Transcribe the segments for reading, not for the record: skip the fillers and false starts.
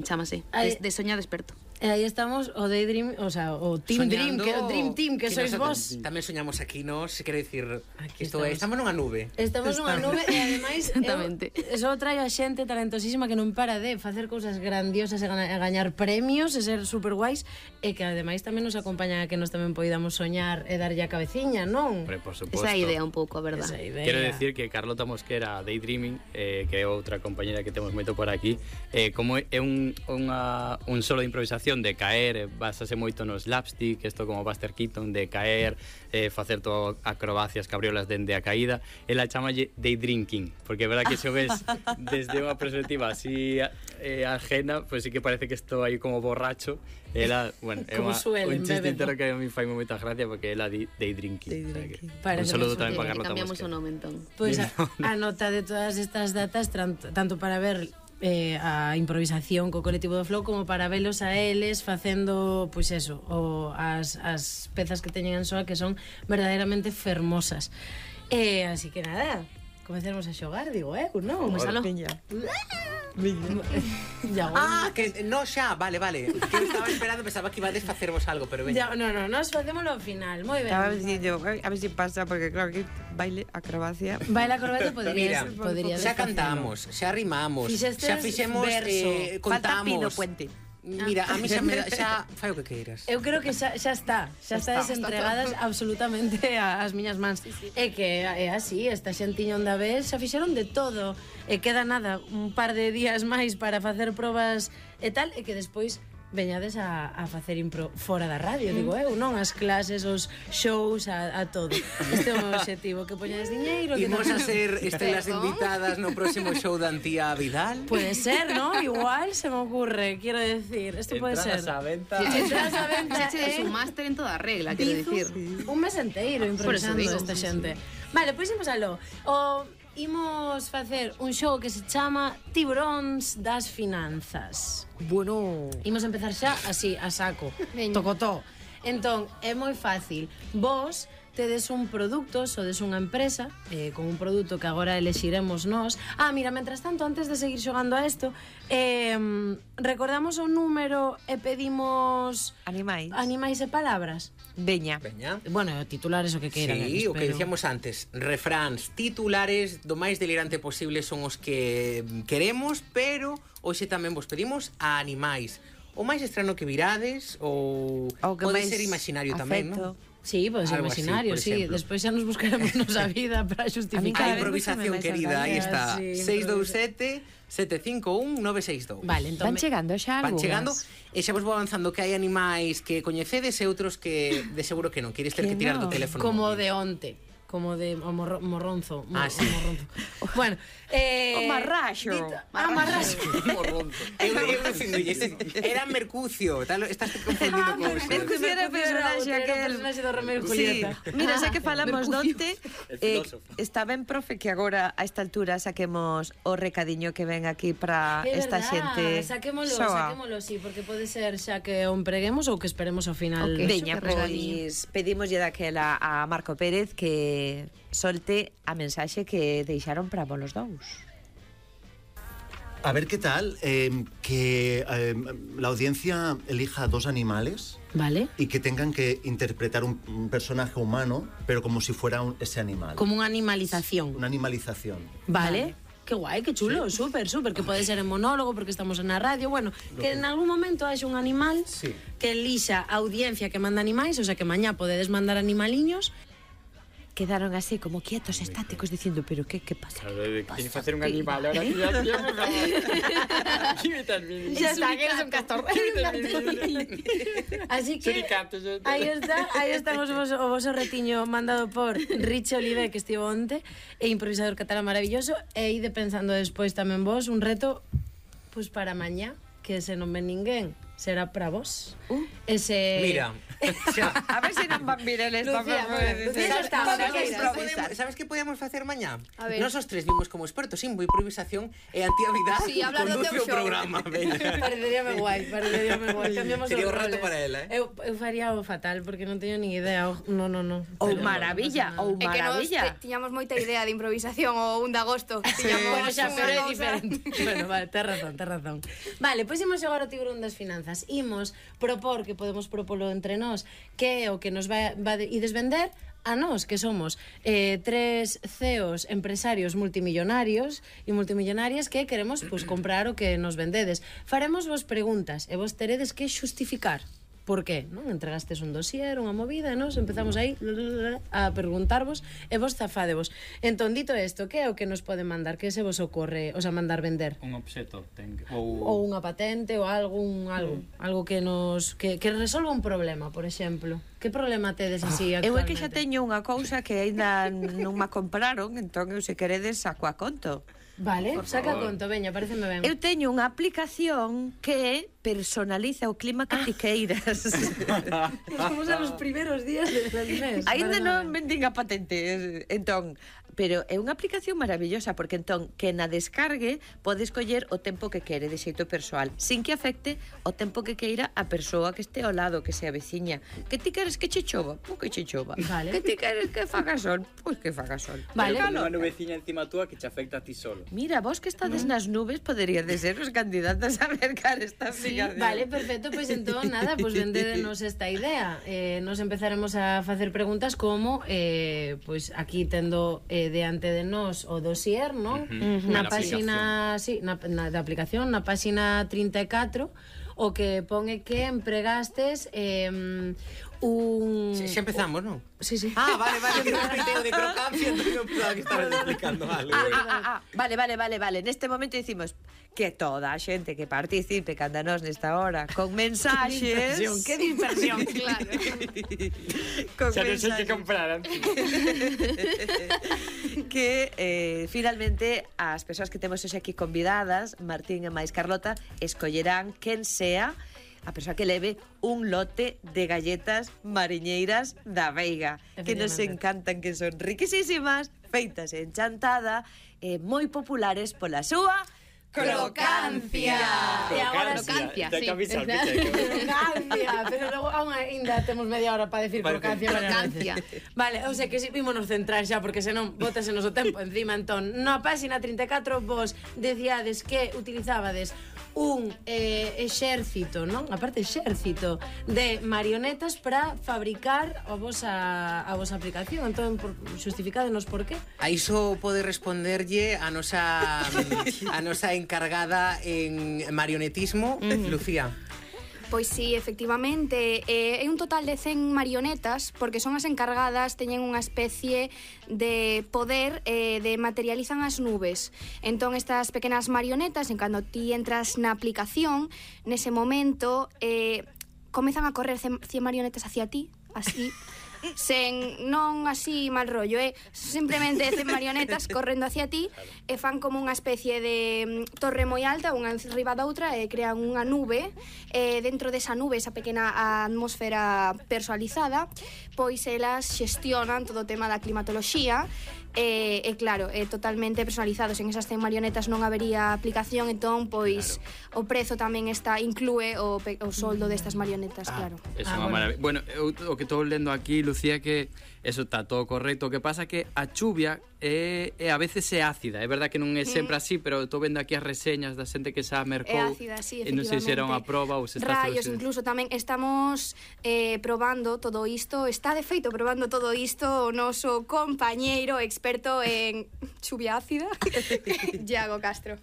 Chámase, de soñar desperto. E aí estamos o Daydream, o sea, o Team Dream, que o Dream Team que sois vos. Tamén soñamos aquí, nos, se quere dicir, estamos nunha nube. Estamos nunha nube e ademais eso traio a xente talentosísima que non para de facer cousas grandiosas e gañar premios e ser super guais e que ademais tamén nos acompañan a que nos tamén poidamos soñar e darlle a cabeciña, non? Por suposto. Esa idea un pouco, a verdad. Quero decir que Carlota Mosquera, Daydreaming, que é outra compañera que temos moito por aquí, como é un solo de improvisación de caer, basase moito no slapstick, isto como Buster Keaton, de caer, facer todo acrobacias, cabriolas dende a caída. Ela chamalle Daydrinking, porque é verdad que se o ves desde unha perspectiva así ajena, pues sí que parece que estou aí como borracho. Ela, bueno, é un chiste interno que a mí fai moita gracia porque ela di Daydrinking. Un saludo tamén para Carlota Mosquera. Cambiamos o nome, entón. Pois a nota de todas estas datas, tanto para ver a improvisación co colectivo do Flow como para velos a eles facendo, pois eso, as pezas que teñen en Soa que son verdadeiramente fermosas. Así que nada, comecemos a xogar, digo, non? Comezalo. Que no xa, vale. Que eu estaba esperando, pensaba que ibades facervos algo, pero veña. No, nos facémolo ao final, moi ben. Estaba dicindo, a ver se pasa, porque claro que baile, acrobacia. Baile, acrobacia podría xa cantamos, xa rimamos, xa fixemos, contamos. Falta Pino Puente. Mira, a mí xa fai o que queiras. Eu creo que xa está desentregadas absolutamente as miñas mans. É que é así, esta xentiña onda vez xa fixeron de todo. E queda nada, un par de días máis para facer probas e tal, e que despois veñades a facer impro fora da radio, digo eu, non? As clases, os shows, a todo. Este é o meu objetivo, que poñades diñeiro. Imos a ser estelas invitadas no próximo show da Antía Vidal. Puede ser, ¿no? Igual se me ocurre, quiero decir. Esto puede ser. Entradas a venta. Entradas a venta. Es un máster en toda regla, quiero decir. Un mes enteiro improvisando esta xente. Vale, pois imos aló. Imos facer un show que se chama Tiburóns das Finanzas. Bueno, Imos empezar xa así, a saco. Tocotó. Entón, é moi fácil. Vos tedes un produto, sodes unha empresa con un produto que agora elexiremos nós. Mira, mentras tanto, antes de seguir xogando a isto, recordamos o número e pedimos animais e palabras. Veña. Bueno, titulares o que queiran. Sí, o que dicíamos antes, refráns, titulares do máis delirante posible son os que queremos, pero hoxe tamén vos pedimos a animais. O máis estrano que virades ou pode ser imaginario tamén, non? Sí, pode ser imaginario, sí. Despois xa nos buscaremos nosa vida para justificar. A improvisación querida, aí está. 627-751-962. Vale, entón van chegando xa algunhas. Van chegando e xa vos vou avanzando que hai animais que coñecedes e outros que de seguro que non. Queres ter que tirar do teléfono. Como de onte. Como de morronzo. Sí. Morronzo. Bueno, o marraxo. Marraxo. Morronzo. Eu era Mercucio, tal, estás confundindo cousas. Mercucio era o personaxe do Romeo y Julieta. Mira, xa que falamos donte, está ben, profe, que agora a esta altura saquemos o recadiño que ven aquí para esta xente. Saquémolo, sí, porque pode ser xa que o empreguemos ou que esperemos ao final. Veña, pois pedimoslle daquela a Marco Pérez que solte a mensaxe que deixaron para vos dous. A ver qué tal, que la audiencia elija dos animales, ¿vale? Y que tengan que interpretar un personaje humano, pero como si fuera ese animal. Como una animalización. Una animalización. ¿Vale? Qué guay, qué chulo, sí. Súper, que puede ser en monólogo porque estamos en la radio, bueno, que en algún momento haya un animal que elixa a audiencia que manda animais, o sea que mañá podedes mandar animaliños. Quedaron así como quietos, estáticos, diciendo, pero qué pasa? Tiene que hacer un animal ahora. Ya está, que eres un castor. Así que aí está o voso retiño mandado por Riche Olive, que estivo onte, e improvisador catalán maravilloso, e ide pensando despois tamén vos un reto pues para mañá, que se non ven ninguén. será para vos. Ese... Mira, A ver se non van vir eles Lucía, Lucía está, sabes que podíamos facer mañá? A ver. Nós os tres vimos como expertos en improvisación e Antiavidade Sí, hablar do conduce teu o show. programa. Veña. Pareceríame guai. Cambiamos Sería os un reto roles. para ela, Eu faría o fatal, porque non teño ni idea. No. Ou maravilla, ou É que nos maravilla. tiñamos moita idea de improvisación o 1 de agosto. Bueno, xa, pero é unha cousa- diferente. Bueno, vale, tes razón. Vale, pois imos agora ao tiburón das finanzas. Imos propor, que podemos propolo entre nós, que é o que nos va ides vender a nós, que somos tres CEOs empresarios multimillonarios e multimillonarias que queremos pues, comprar o que nos vendedes. Faremos vos preguntas e vos teredes que xustificar. Por qué? Non? Entregastes un dossier, unha movida, nos empezamos aí a preguntarvos e vos zafádevos. Entón, dito isto, que é o que nos pode mandar? Que se vos ocorre, o sea, mandar vender? Un obxeto Ou unha patente ou algo que nos que resolva un problema, por exemplo. Que problema tedes así Eu é actualmente? que xa teño unha cousa que aínda non me compraron, entón eu se queredes saco a conto. Vale, saca conto, veña, pareceme ben. Eu teño unha aplicación que personaliza o clima que ti queiras. Vamos a los primeros días del mes. Aínda non vendín a patente, entón, pero é unha aplicación maravillosa porque entón que na descargue pode escoller o tempo que quere de xeito persoal, sin que afecte o tempo que queira a persoa que este ao lado, que sea veciña. Que ti queres que che chova? Pois que che chova. Vale. Que ti queres que faga sol? Pois que faga sol. Vale. Pero Unha nubeciña encima túa que te afecta a ti solo. mira, vos que estades nas nubes poderíades ser os candidatos a mercar esta Sí, aplicación. vale, perfecto, pois entón nada, pois vendédenos esta idea. Nos empezaremos a facer preguntas como pois aquí tendo diante de nós o dossier, non? Na Na páxina, sí, na da aplicación, na páxina 34, o que pon é que empregastes un... Xa empezamos, non? Sí. Ah, vale, que non piteo de crocancia, entón non pensaba que estabas explicando algo. Vale. Neste momento dicimos que toda a xente que participe canda nós nesta hora con mensaxes... Que dispersión. Claro. con Xa non sei que mensaxes comprar antes. que finalmente as persoas que temos hoxe aquí convidadas, Martín e máis Carlota, escollerán quen sea a persoa que leve un lote de galletas mariñeiras da Veiga, que nos encantan, que son riquísimas, feitas en chantada, moi populares pola súa crocancia. E agora Crocancia, Ten sí. que avisar, Crocancia, pero logo aún ainda temos media hora para decir crocancia. Crocancia. Vale, o sea que si ímonos centrar xa, porque senón bótase noso tempo encima. Entón, na páxina 34 vos decíades que utilizabades un exército, non? Aparte exército de marionetas para fabricar a vosa aplicación. Entón, xustificádenos por qué. A iso pode responderlle a nosa encargada en marionetismo, Lucía. Pois sí, efectivamente, é un total de 100 marionetas, porque son as encargadas, teñen unha especie de poder de materializan as nubes. Entón, estas pequenas marionetas, en cando ti entras na aplicación, nese momento, comezan a correr 100 marionetas hacia ti, así, sen non así mal rollo, simplemente 100 marionetas correndo hacia ti e fan como unha especie de torre moi alta, unha enriba da outra, e crean unha nube, dentro desa nube, esa pequena atmosfera personalizada, pois elas xestionan todo o tema da climatoloxía, e claro, totalmente personalizados. En esas 100 marionetas non habería aplicación, entón pois o prezo tamén inclúe o soldo destas marionetas, claro. É unha maravilla. Bueno, eu o que estou lendo aquí, Lucía, que eso está todo correcto. O que pasa que a chuvia a veces é ácida. É verdad que non é sempre así, pero estou vendo aquí as reseñas da xente que xa mercou. É ácida, sí, e non sei se era unha proba ou se está rayos, incluso tamén estamos probando todo isto. Está de feito probando todo isto o noso compañeiro experto en chuvia ácida, Iago Castro.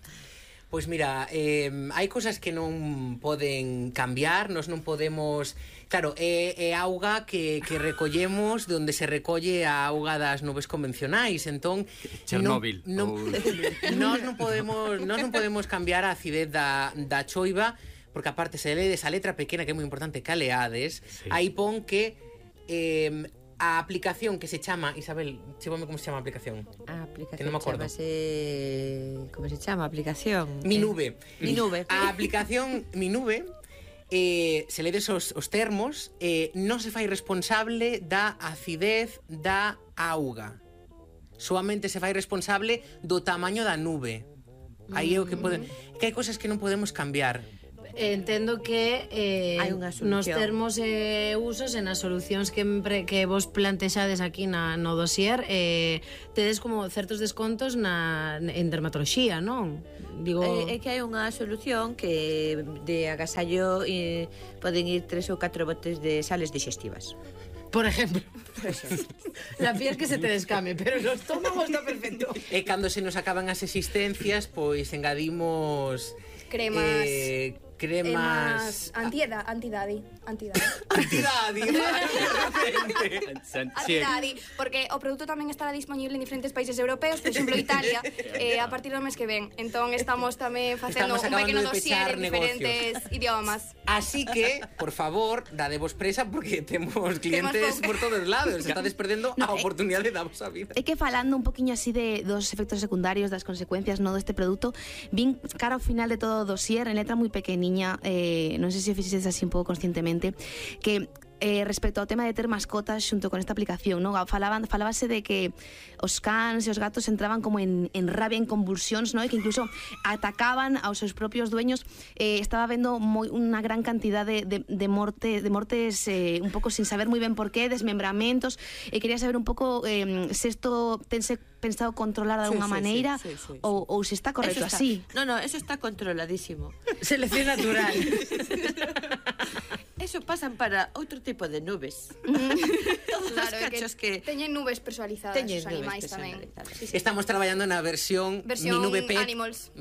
Pois mira, hai cousas que non poden cambiar, nos non podemos... Claro, é auga que recollemos de onde se recolle a auga das nubes convencionais, entón... Chernóbil. Nós non podemos cambiar a acidez da choiva, porque aparte se ledes a letra pequena, que é moi importante, caleades, sí. Aí pon que... a aplicación que se chama, Isabel, chíbame como se chama a aplicación. A aplicación que non me acordo. Como se chama a aplicación? Mi Nube. Mi Nube. A aplicación Mi Nube se ledes os termos, non se fai responsable da acidez da auga. Soamente se fai responsable do tamaño da nube. Aí é o que que hai cousas que non podemos cambiar. Entendo que Hai unha solución. nos termos e usos e nas solucións que vos plantexades aquí no dossier tedes como certos descontos en dermatoloxía, non? Digo... É que hai unha solución que de agasallo poden ir 3 ou 4 botes de sales digestivas. Por ejemplo. La piel que se te descame, pero el estómago está perfecto. E cando se nos acaban as existencias, pois engadimos cremas antidadi. Antidadi, porque o produto tamén estará disponible en diferentes países europeos, por exemplo Italia, a partir do mes que ven. Entón estamos tamén facendo un pequeno dossier en diferentes idiomas. Así que, por favor, dadevos presa porque temos clientes por todos lados. Estades perdendo a oportunidade da vosa vida. É que falando un poquinho así dos efectos secundarios, das consecuencias deste produto, vin cara ao final de todo o dossier, en letra moi pequeniña, non sei se o fixedes así un pouco conscientemente, que respecto ao tema de ter mascotas xunto con esta aplicación, non? Falábase de que os cans e os gatos entraban como en rabia, en convulsións, non? E que incluso atacaban aos seus propios dueños. Estaba vendo unha gran cantidad de mortes un pouco sin saber moi ben por qué, desmembramentos, e quería saber un pouco se isto tense pensado controlar de alguna maneira ou se está correcto así. No, eso está controladísimo. Selección natural. Eso pasan para outro tipo de nubes. Todos os cachos que teñen nubes personalizadas os animais tamén. Estamos traballando na versión Mi Nube Pet. Animals.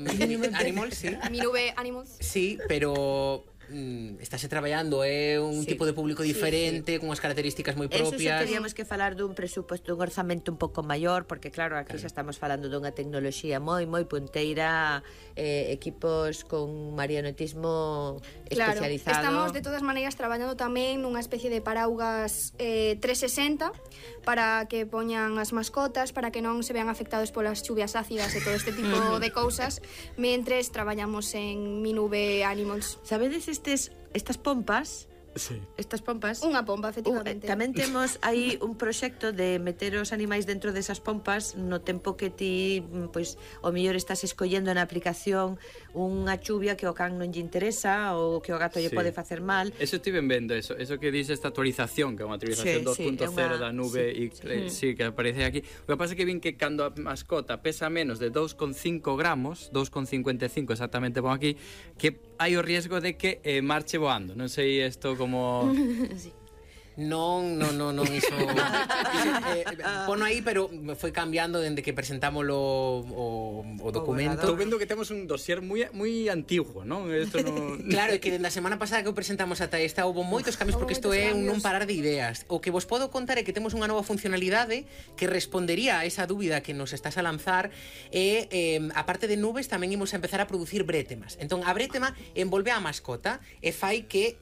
Animals, sí. Mi Nube Animals. Sí, pero estáse traballando un tipo de público diferente, con as características moi propias. Eso teríamos que falar dun presuposto, dun orzamento un pouco maior, porque claro, aquí xa estamos falando dunha tecnoloxía moi punteira, equipos con marionetismo especializado. Estamos de todas maneiras traballando tamén nunha especie de paraugas 360 para que poñan as mascotas, para que non se vean afectados polas chuvias ácidas e todo este tipo de cousas, mentres traballamos en Mi Nube Animals. Sabedes estas pompas? Sí. Estas pompas. Unha pompa, efectivamente. Tamén temos aí un proxecto de meter os animais dentro desas pompas no tempo que ti, pois, o mellor estás escollendo na aplicación unha chuvia que o can non lle interesa ou que o gato lle pode facer mal. Eso estiven vendo, eso que dice esta actualización, que é unha actualización 2.0 da nube e que aparece aquí. O que pasa é que vin que cando a mascota pesa menos de 2,5 gramos, 2,55 exactamente pon aquí, que hai o riesgo de que marche voando. Non sei isto como... Sí. Non, iso pono aí, pero foi cambiando dende que presentámolo o documento. Estou vendo que temos un dossier moi antiguo, non? Isto non... Claro, é que dende a semana pasada que o presentamos ata esta houve moitos cambios, porque isto é un non parar de ideas. O que vos podo contar é que temos unha nova funcionalidade que respondería a esa dúbida que nos estás a lanzar, e a parte de nubes tamén imos a empezar a producir brétemas. Entón, a brétema envolve a mascota e fai que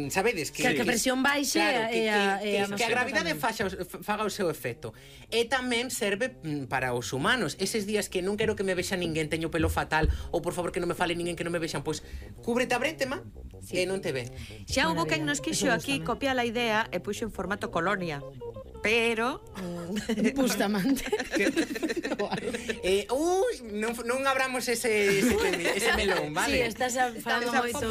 sabedes que a presión baixe, claro, que a gravidade faga o seu efecto. E tamén serve para os humanos. Eses días que non quero que me vexa ninguén, teño pelo fatal, ou por favor que non me fale ninguén, que non me vexan, pois cúbrete a brétema e non te ve. Xa houbo quen nos quixo aquí copiar a idea e puxo en formato colonia. Pero Bustamante. non abramos ese melón, vale? Sí, estás falando moito.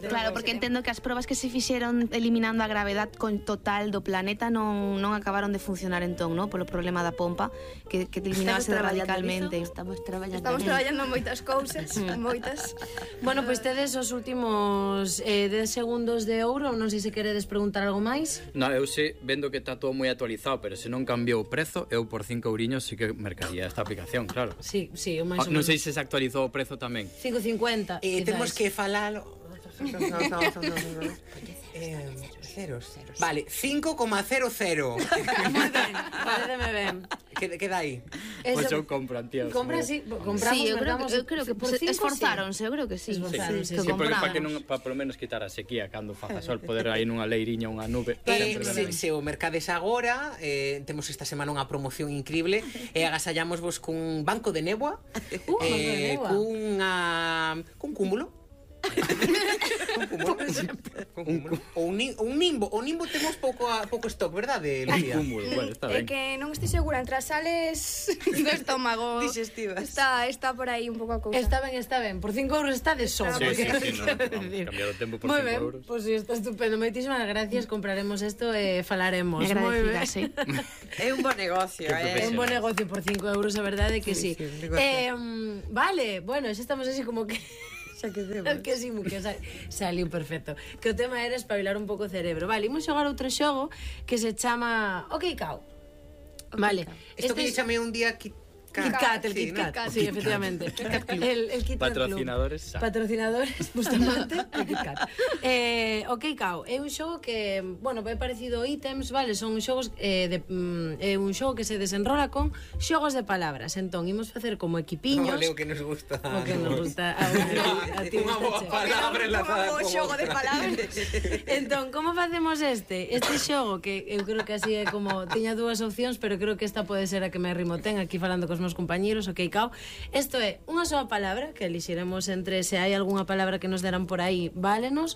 Claro, porque entendo que as probas que se fixeron eliminando a gravedad total do planeta non acabaron de funcionar entón, non? Polo problema da pompa que eliminabase radicalmente. Estamos traballando moitas cousas, moitas. Bueno, pois tedes os últimos 10 segundos de ouro, non sei se queredes preguntar algo máis. Non, eu sei, vendo que está todo moi actualizado, pero se non cambiou o prezo, eu por 5 euriños sí que mercaría esta aplicación, claro. Sí, o máis ou non menos. sei se se actualizou o prezo tamén. 5,50. Temos que falar ceros. Vale, 5,00. Paréceme ben. Queda aí. Pois eu compro, tío. Compramos, Sí, eu creo que esforzáronse, eu creo que sí. Esforzáronse, Que Sí, porque para que compráramos. para polo menos quitar a sequía cando faza sol, poder aí nunha leiriña, unha nube. Se o mercades agora, temos esta semana unha promoción increíble, e agasallámosvos cun banco de néboa, cun cúmulo O un nimbo. O nimbo temos pouco stock, verdade, Lucía? Un cúmulo, bueno, está É ben. que non estou segura entre as sales do estómago. Digestivas. Está por aí un pouco a cousa. Está ben. Por 5 euros está de sobra. Sí, porque- no, vamos, cambiar o tempo por Moi 5 ben, euros. pois está estupendo. Moitísimas gracias, compraremos isto e falaremos. Moi ben. Agradecidas, É un bo negocio, É un bo negocio por 5 euros, a verdade que sí. un negocio. Vale, bueno, xa estamos así como que... Xa quedemos. Que sí, que saliu perfecto. Que o tema era espabilar un pouco o cerebro. Vale, imos xogar outro xogo que se chama OK Cow. Vale. Isto que lle chamei un día Kit Kat, el Kit Kat, sí, efectivamente. El Kit Kat Club. Patrocinadores. Patrocinadores, Bustamante, el Kit Kat. OK Cow é un xogo que, bueno, é parecido a ítems, vale? Son xogos é un xogo que se desenrola con xogos de palabras. Entón, imos facer como equipiños. Vale, o que nos gusta. O que nos gusta. A ti Unha boa gusta palabra enlazada con xogo de outra. palabras. Entón, como facemos este? Este xogo que eu creo que así é como tiña dúas opcións, pero creo que esta pode ser a que me rimo ten aquí falando cos meus compañeros, OK Cow. Isto é unha soa palabra que elixiremos entre se hai algunha palabra que nos deran por aí, válenos.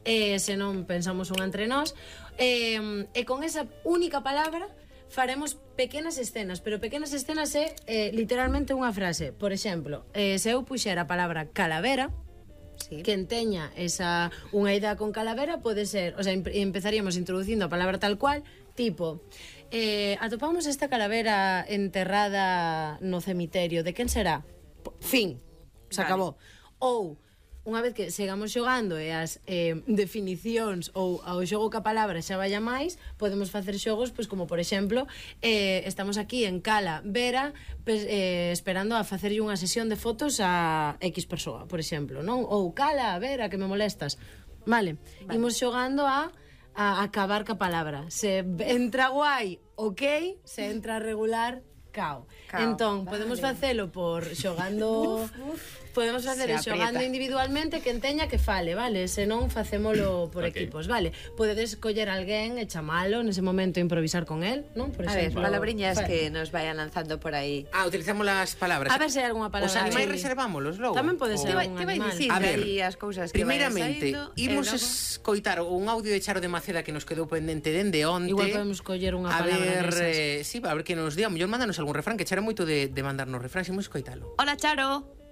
Se non pensamos unha entre nós. E con esa única palabra faremos pequenas escenas, pero pequenas escenas é literalmente unha frase. Por exemplo, se eu puxera a palabra calavera, Sí. que enteña unha idea con calavera, pode ser, o sea, empezaríamos introducindo a palabra tal cual, tipo, atopamos esta calavera enterrada no cemiterio, de quen será? Fin, se Vale. acabou. Ou, unha vez que sigamos xogando e as definicións ou ao xogo ca palabra xa vaya máis, podemos facer xogos, pois como por exemplo, estamos aquí en Cala Vera esperando a facerlle unha sesión de fotos a X persoa, por exemplo, non? Ou Cala Vera, que me molestas. Vale. Imos xogando a acabar ca palabra. Se entra guai, OK, se entra regular, cao. Entón, podemos facelo por xogando... Podemos facer Se xogando aprieta. individualmente que enteña que fale, vale? Se non, facémolo por Ok. equipos, vale? Podedes coller alguén e chamalo nese momento e improvisar con él, non? Por A ver, exemplo, palabriñas que nos vayan lanzando por aí. Utilizamos las palabras. A ver se hai algunha palabra. Os animais Sí. reservámolos logo. Tamén pode ser O- algún Te vai animal. dicir A ver, aí as cousas que Primeiramente, vayan saindo, imos e logo... escoitar un audio de Charo de Maceda que nos quedou pendente dende onte. Igual podemos coller unha a palabra ver, desas. sí, a ver que nos diga. Mellor mándanos algún refrán, que Charo é moito de mandarnos refráns, imos escoitalo. Hola, Charo.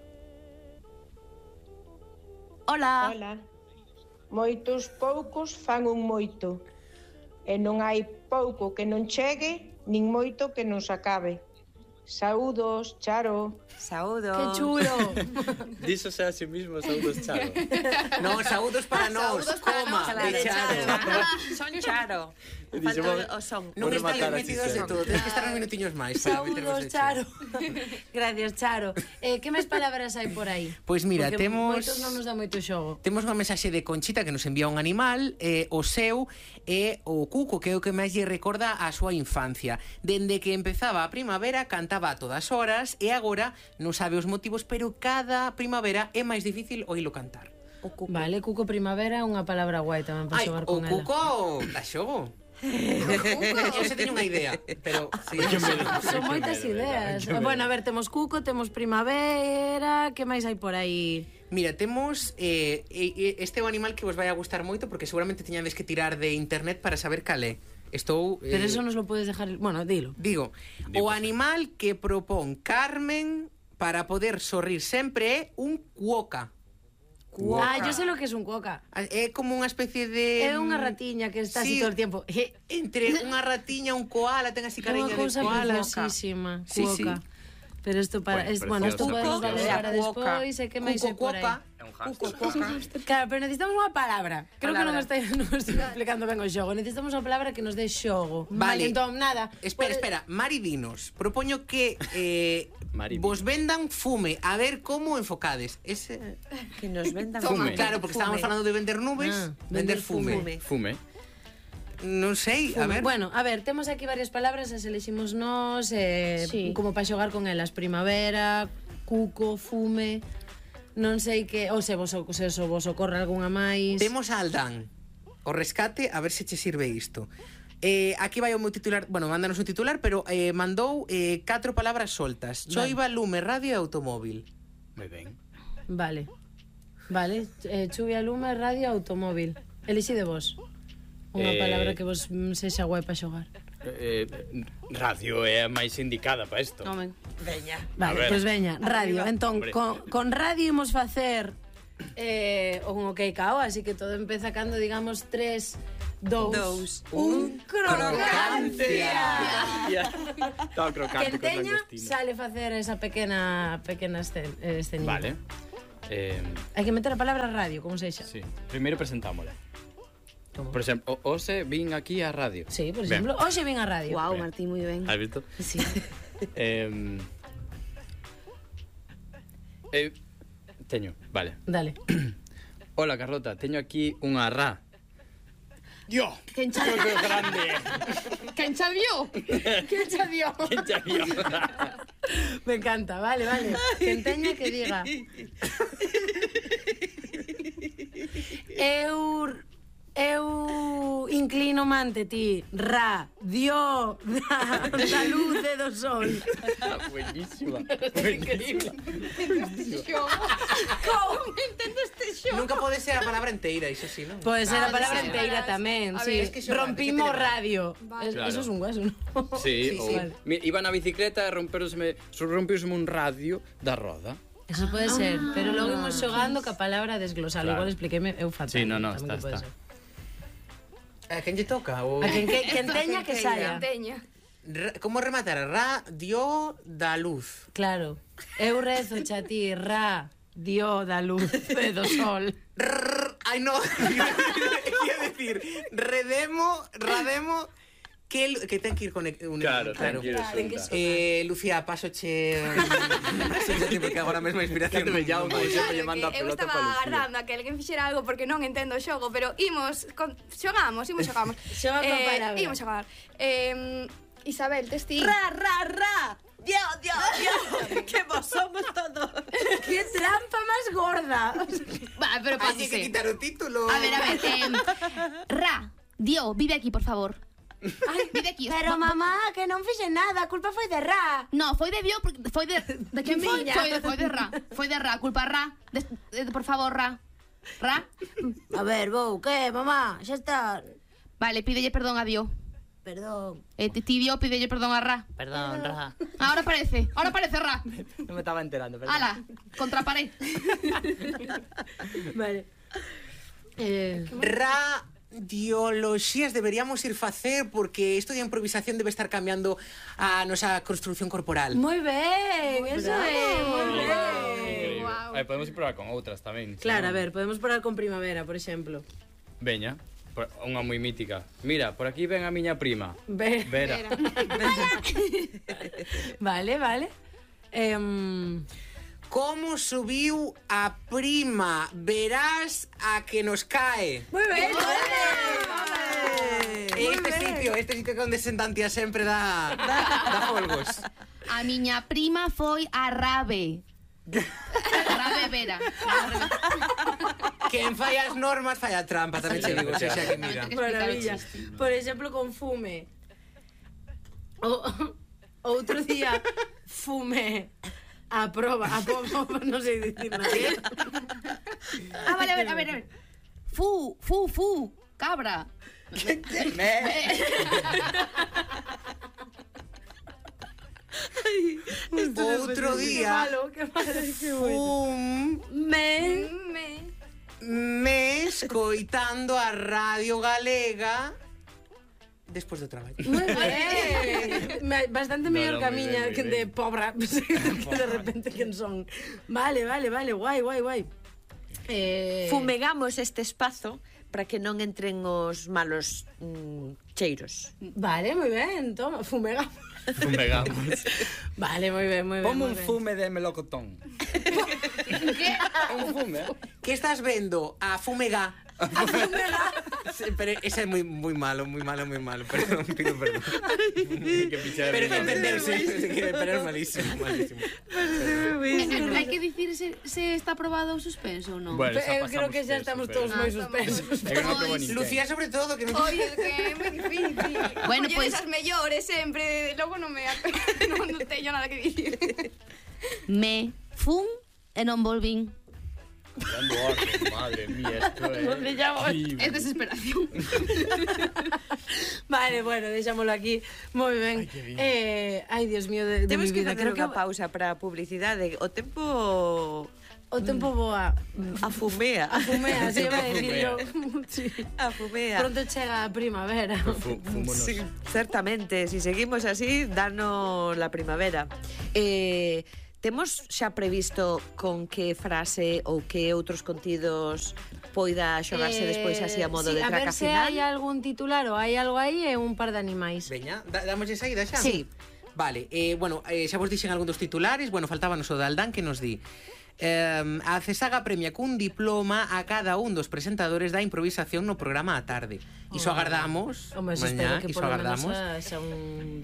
Hola. Ola. Moitos poucos fan un moito. E non hai pouco que non chegue, nin moito que non se acabe. Saúdos, Charo. Saúdos. Que chulo. Diso sea a sí mismo, saúdos, Charo. No, saúdos para nós, coma, Claro, de Charo. Son Charo. Dixo, Falta o son. Non Vou están rematar metidos así de sempre. todo, tens que estar uns minutiños máis para meternos Saúdos, de Charo. Gracias, Charo. Que máis palabras hai por aí? Pois mira, Porque temos- moitos non nos dá moito xogo. Temos unha mensaxe de Conchita que nos envía un animal, o seu é o cuco, que é o que máis lle recorda a súa infancia. Dende que empezaba a primavera cantaba a todas horas e agora non sabe os motivos, pero cada primavera é máis difícil oílo cantar. O cuco. Vale, cuco primavera é unha palabra guai tamén para Ai, xogar o con ela. cuco da xogo. Eu se teño unha idea, pero sí, Son moitas ideas. Bueno, a ver, temos cuco, temos primavera, que máis hai por aí? Mira, temos este é un animal que vos vai a gustar moito porque seguramente teñades que tirar de internet para saber cal é. Estou Pero eso nos lo podes dejar... Bueno, dilo. Digo, o animal que propón Carmen para poder sorrir sempre é un cuoca. Ah, yo sé lo que es un cuoca. É como unha especie de... É unha ratiña que está así Sí, todo el tiempo. Entre unha ratiña, un koala, ten así Unha cariña de cousa koala. preciosísima. Sí, sí. Cuoca. Pero isto para... Bueno, Bueno, isto precioso, podemos precioso. valer para Cuoca. despois e que máis hai por aí. Cuoca. É un hámster. Claro, pero necesitamos unha palabra. Creo que non Palabra. estou explicando ben o xogo. Necesitamos unha palabra que nos dé xogo. Vale. Entón, nada. Espera, Mari dinos. Propoño que Mari, vos vendan fume, a ver como enfocades. Ese... Que nos vendan Fume. Claro, porque estábamos falando de vender nubes, Ah, vender fume. Fume. Non sei, a ver. Bueno, a ver, temos aquí varias palabras, as eleximos nós, Sí. como para xogar con elas. Primavera, cuco, fume... Non sei que... Ou se vos ocorre algunha máis... Temos a Aldán. O rescate, a ver se che sirve isto. Aquí vai o meu titular, bueno, mándanos un titular, pero mandou 4 palabras soltas. Choiva, lume, radio e automóvil. Moi ben. Vale. Vale, chuvia, lume, radio, automóvil. Elixide vos. Unha palabra que vos sexa guai para xogar. Radio é a máis indicada para isto. Nomen. Veña. Vale, pois veña, radio. Entón, Hombre. con radio imos facer un ok cao, así que todo empeza cando digamos 3, 2, 1, crocancia. Todo crocante Quen con teña langostino. sale facer esa pequena escenilla. Vale. Hai que meter a palabra radio, como sexa. Sí. Primeiro presentámola. Por exemplo, hoxe vin aquí a radio. Sí, por Ben. exemplo, hoxe vin a radio. Guau, Ben. Martín, moi ben. Has visto? Sí. Teño, vale. Dale. Hola, Carlota, teño aquí unha ra. Dio! Quen cha Que grande! Quen cha dio? Quen xa dio? Quen xa dio? Me encanta, vale, vale. Quen teña que diga. Eu inclino ante ti, ra, dio, da luz e do sol. Buenísima. Buenísima. Como entendo este xogo? Nunca pode ser a palabra inteira, iso sí, non? Pode ser a palabra sí, inteira verás. tamén, A sí. ver, es que xogar, Rompimos que te radio. Vale. Claro. Eso es un hueso, ¿no? Sí, Sí, o... Iba na bicicleta e rompeuseme un radio da roda. Eso pode ser, pero logo imos xogando ca palabra desglosar. Claro. Igual expliqueme eu fatal. Sí, no, tamén que está, pode está. ser. A quen lle toca? O... A quen teña que saia. Teña. Como rematar? Ra, dio, da luz. Claro. Eu rezo xa ti, ra, dio da luz e do sol. Ay, no. Quería decir, rademo, que ten que ir con... Claro, tranquilo. Lucía, pasoche... Pasoche, porque agora mesmo a inspiración... Cántate ya, non como vai. sempre lle manda a eu pelota estaba pa Lucía. agardando a que alguén fixera algo porque non entendo o xogo, pero xogamos. Xoga coa palabra. Imos xogar. Isabel, tes ti? Ra. Dio. Que vos somos todos. Que trampa máis gorda. Va, pero Hai que pásese. quitar o título. A ver, Ra, Dio, vive aquí, por favor. Ay, vive aquí. Pero mamá, que non fixe nada, a culpa foi de ra. No, foi de Dio, porque foi de quen foi? miña. Foi de Ra. Foi de Ra, culpa Ra. Por favor, Ra. Ra. A ver, vou, que, mamá? Xa está. Vale, pídelle perdón a Dio. Perdón. Ti Dio, pídelle perdón a Ra. Perdón, Ra. Ahora parece Ra. Non me estaba enterando, perdón. Ala, contra pared. Vale. Radioloxías deberíamos ir facer porque isto de improvisación debe estar cambiando a nosa construcción corporal. Moi ben, eso é, moi ben. Guau. Podemos ir probar con outras tamén. Claro, a ver, podemos probar con primavera, por exemplo. Veña, unha moi mítica. Mira, por aquí ven a miña prima. Vera. Vale. Como subiu a prima? Verás a que nos cae. Moi ben. Este sitio que onde sentantia sempre dá folgos. A miña prima foi a Rabe. Rabe Vera. Quen fai as normas fai a trampa, tamén che digo, xa que mira. Maravilla. Por exemplo, con fume. Outro día fume a prova, non sei dicir nada. Vale, a ver. Fu, cabra. Outro día Que malo. me escoitando a Radio Galega despois do traballo. Moi ben. Bastante mellor que a moi miña ben, que moi de ben. pobra, que de repente quen son. Vale, guai. Fumegamos este espazo para que non entren os malos cheiros. Vale, moi ben, toma, fumegamos. Fumegamos. Vale, moi ben. Como un moi ben. fume de melocotón. Un fume, Que estás vendo? A Fumega. Sí, pero ese é moi malo. Perdón, pido perdón. Que pichar Pero que entenderse, pero é malísimo. Hai que dicir se está aprobado o suspenso ou non. Bueno, xa Eu creo pasamos que xa de estamos eso, todos pero- moi suspensos. É que non aprobou ninguén. Lucía sobre todo que non... Oye, que é moi difícil. Bueno, Oye, pues- esas mellores sempre, logo non teño nada que dicir. Me fun e non volvín. Dando orden, madre mía, esto é... ¿Dónde llamo? Es desesperación. Vale, bueno, deixámoslo aquí. Moi ben. Ai, Dios mío, de mi Temos que vida. facer Creo que unha pausa para a publicidade. O tempo o tempo voa. afumea. Afumea, se iba a decir yo. Sí. Afumea. Pronto chega a primavera. Fúmonos. Sí, certamente, si seguimos así, danos la primavera. Temos xa previsto con que frase ou que outros contidos poida xogarse despois así a modo de a ver traca se final? hai algún titular ou hai algo aí e un par de animais. Veña, damoslle saída xa? Sí. Vale, bueno, xa vos dixen algún dos titulares. Bueno, faltábanos o de Aldán que nos di a CESAGA premia cun diploma a cada un dos presentadores da improvisación no programa á tarde. Iso agardamos, Home, eso mañá, espero que iso por lo menos agardamos. xa un